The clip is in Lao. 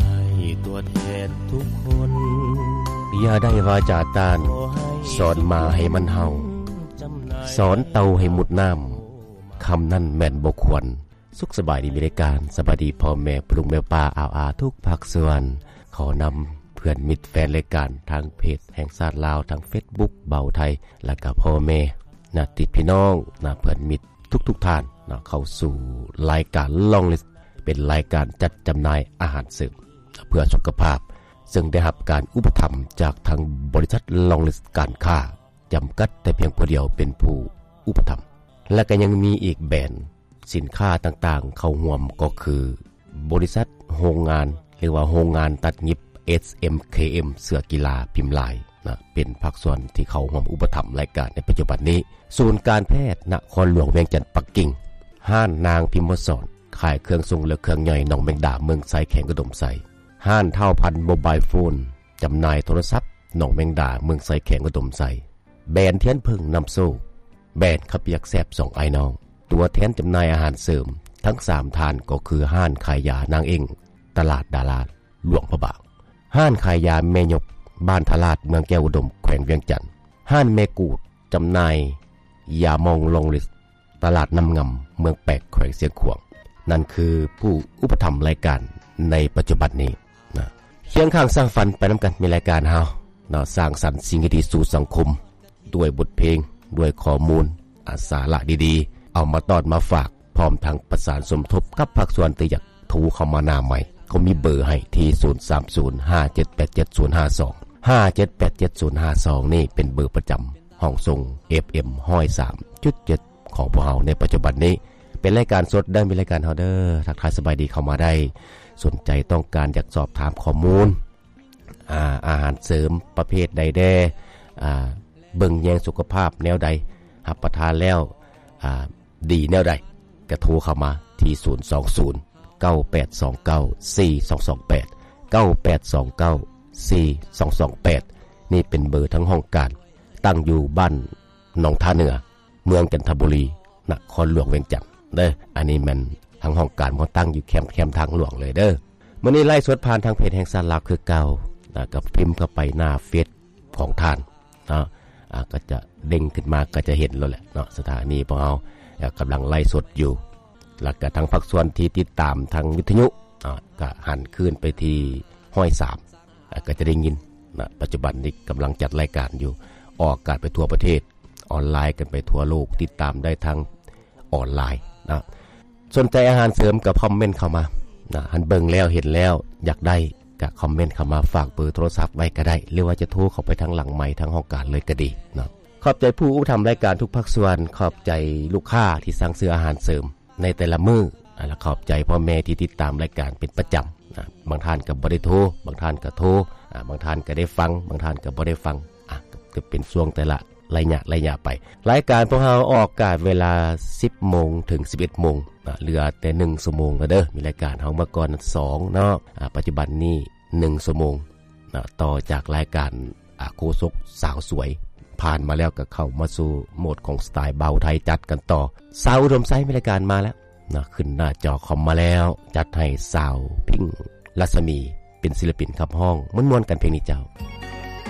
ໃຫ້ຕົວແທນທຸກຄົນ ຢ່າໄດ້ວາຈາຕ້ານ ສອນໝາໃຫ້ມັນເຫົ່າ ສອນເຕົ່າໃຫ້ມຸດນ້ຳ ຄຳນັ້ນແມ່ນບໍ່ຄວນ. ສຸກສະບາຍດີ ມີລາຍການ ສະບາຍດີພໍ່ແມ່ ພໍ່ລຸງແມ່ປ້າ ອາວອາ ທຸກພາກສ່ວນ. ຂໍນຳເພື່ອນມິດແຟນລາຍການ ທາງເພຈແຫ່ງຊາດລາວ ທາງເຟສບຸກເບົາໄທ ແລະກະພໍ່ແມ່ ຍາດຕິພີ່ນ້ອງ ນະ ເພື່ອນມິດທຸກໆທ່ານນະ ເຂົ້າສູ່ລາຍການ Long List ເປັນລາຍການຈັດຈຳໜ່າຍອາຫານເສີມເພື່ອສຸຂະພາບ ເຊິ່ງໄດ້ຮັບການອຸປະຖຳຈາກທາງບໍລິສັດ Long List ການຄ້າ ຈຳກັດແຕ່ພຽງຜູ້ດຽວເປັນຜູ້ອຸປະຖຳ ແລະກະຍັງມີອີກແບຣນສິນຄ້າຕ່າງໆເຂົ້າຮ່ວມ ກໍຄືບໍລິສັດໂຮງງານ ຫຼືວ່າໂຮງງານຕັດຫຍິບ ເອສເອັມເຄເອັມ ເສື້ອກິລາພິມລາຍນະ ເປັນພາກສ່ວນທີ່ເຂົ້າຮ່ວມອຸປະຖຳລາຍການໃນປັດຈຸບັນນີ້, ສູນການແພດນະຄອນຫຼວງວຽງຈັນປັກກິ່ງ, ຮ້ານນາງພິມມະສອນ ຂາຍເຄື່ອງຊົງ ແລະ ເຄື່ອງຍ່ອຍໜອງແມງດາ ເມືອງໄຊ ແຂວງອຸດົມໄຊ, ຮ້ານທ້າວພັນໂມບາຍໂຟນ ຈຳໜ່າຍໂທລະສັບໜອງແມງດາ ເມືອງໄຊ ແຂວງອຸດົມໄຊ, ແບຣນທຽນເຜິ້ງນຳໂຊກ, ແບຣນເຂົ້າປຽກແຊບສອງອ້າຍນ້ອງ. ຕົວແທນຈຳໜ່າຍອາຫານເສີມທັງສາມທ່ານກໍຄືຮ້ານຂາຍຢານາງເອັ້ງ ຕະຫຼາດດາລາ ຫຼວງພະບາງ, ຮ້ານຂາຍຢາແມ່ຍົກ ບ້ານທະລາດ ເມືອງແກ້ວອຸດົມ ແຂວງວຽງຈັນ, ຮ້ານແມ່ກູດ ຈຳໜ່າຍຢາໝອງ Long List ຕະຫຼາດນ້ຳງຳ ເມືອງແປກ ແຂວງຊຽງຂວາງ. ນັ້ນຄືຜູ້ອຸປະຖຳລາຍການໃນປັດຈຸບັນນີ້ນະ. ຄຽງຂ້າງສ້າງຝັນໄປນຳກັນ ມີລາຍການເຮົາເນາະ, ສ້າງສັນສິ່ງດີໆສູ່ສັງຄົມ ດ້ວຍບົດເພງ, ດ້ວຍຂໍ້ມູນ, ອາ ສາລະດີໆ ເອົາມາຕ້ອນມາຝາກ, ພ້ອມທັງປະສານສົມທົບກັບພາກສ່ວນທີ່ຢາກໂທເຂົ້າມາໜ້າໃໝ່, ເຂົາມີເບີໃຫ້ທີ່ ສູນສາມສູນ ຫ້າເຈັດແປດເຈັດ ສູນຫ້າສອງ ຫ້າເຈັດແປດເຈັດ ສູນຫ້າສອງ ນີ້ເປັນເບີປະຈຳຫ້ອງສົ່ງ ເອັຟເອັມ ຮ້ອຍສາມຈຸດເຈັດ ຂອງພວກເຮົາໃນປັດຈຸບັນນີ້. ເປັນລາຍການສົດເດີ ມີລາຍການເຮົາເດີ, ທັກທາຍສະບາຍດີເຂົ້າມາໄດ້. ສົນໃຈຕ້ອງການຢາກສອບຖາມຂໍ້ມູນ ອາ ອາຫານເສີມປະເພດໃດແດ່ ອາ ເບິ່ງແຍງສຸຂະພາບແນວໃດ ຮັບປະທານແລ້ວ ອາ ດີແນວໃດ ກະໂທເຂົ້າມາທີ່ ສູນສອງສູນ ເກົ້າແປດສອງເກົ້າ ສີ່ສອງສອງແປດ ເກົ້າແປດສອງເກົ້າ ສີ່ສອງສອງແປດ. ນີ້ເປັນເບີທາງຫ້ອງການ ຕັ້ງຢູ່ບ້ານໜອງທ່າເໜືອ ເມືອງຈັນທະບູລີ ນະຄອນຫຼວງວຽງຈັນເດີ. ອັນນີ້ແມ່ນທາງຫ້ອງການເຮົາຕັ້ງຢູ່ແຄມ ແຄມທາງຫຼວງເລີຍເດີ. ມື້ນີ້ໄລຟ໌ສົດຜ່ານທາງເພຈແຫ່ງຊາດລາວຄືເກົ່າ ນະ ກໍພິມເຂົ້າໄປໜ້າເຟສຂອງທ່ານເນາະ ອາ ກໍຈະເດ້ງຂຶ້ນມາ ກໍຈະເຫັນໂລດແຫຼະເນາະ. ສະຖານີຂອງເຮົາ ອາ ກຳລັງໄລຟ໌ສົດຢູ່ ແລ້ວກໍທາງພາກສ່ວນທີ່ຕິດຕາມທາງວິທະຍຸ ອາ ກໍຫັນຄືນໄປທີ່ຮ້ອຍສາມ ອາ ກໍຈະໄດ້ຍິນນະ. ປັດຈຸບັນນີ້ກຳລັງຈັດລາຍການຢູ່ ອອກອາກາດໄປທົ່ວປະເທດ ອອນລາຍກັນໄປທົ່ວໂລກ, ຕິດຕາມໄດ້ທາງອອນລາຍນະ. ສົນໃຈອາຫານເສີມກໍຄອມເມັນເຂົ້າມານະ, ຄັນເບິ່ງແລ້ວເຫັນແລ້ວຢາກໄດ້ ກໍຄອມເມັນເຂົ້າມາ, ຝາກເບີໂທລະສັບໄວ້ກໍໄດ້ ຫຼືວ່າຈະໂທເຂົ້າໄປທາງຫຼັງໄມ ທາງຫ້ອງການເລີຍກໍດີເນາະ. ຂອບໃຈຜູ້ອຸປະຖຳລາຍການທຸກພາກສ່ວນ, ຂອບໃຈລູກຄ້າທີ່ສັ່ງຊື້ອາຫານເສີມໃນແຕ່ລະມື້, ແລະ ຂອບໃຈພໍ່ແມ່ທີ່ຕິດຕາມລາຍການເປັນປະຈຳນະ. ບາງທ່ານກໍບໍ່ໄດ້ໂທ, ບາງທ່ານກໍໂທ, ອາ ບາງທ່ານກໍໄດ້ຟັງ, ບາງທ່ານກໍບໍ່ໄດ້ຟັງ. ອາ ກໍເປັນຊ່ວງແຕ່ລະໄລຍະໄລຍະໄປ. ລາຍການພວກເຮົາອອກອາກາດເວລາສິບໂມງເຖິງສິບເອັດໂມງນະ, ເຫຼືອແຕ່ໜຶ່ງຊົ່ວໂມງແລ້ວເດີ. ມີລາຍການເຮົາເມື່ອກ່ອນສອງເນາະ, ອາ ປັດຈຸບັນນີ້ໜຶ່ງຊົ່ວໂມງນະ, ຕໍ່ຈາກລາຍການ ອາ ໂຄສົກສາວສວຍ ຜ່ານມາແລ້ວ ກໍເຂົ້າມາສູ່ໂໝດຂອງສະໄຕລ໌ເບົາໄທ, ຈັດກັນຕໍ່. ຊາວອຸດົມໄຊ ມີລາຍການມາແລ້ວນະ, ຂຶ້ນໜ້າຈໍຄອມມາແລ້ວ, ຈັດໃຫ້ສາວພິງ ລັດສະໝີ ເປັນສິລະປິນຂັບຮ້ອງ, ມ່ວນໆກັນເພງນີ້ເຈົ້າ.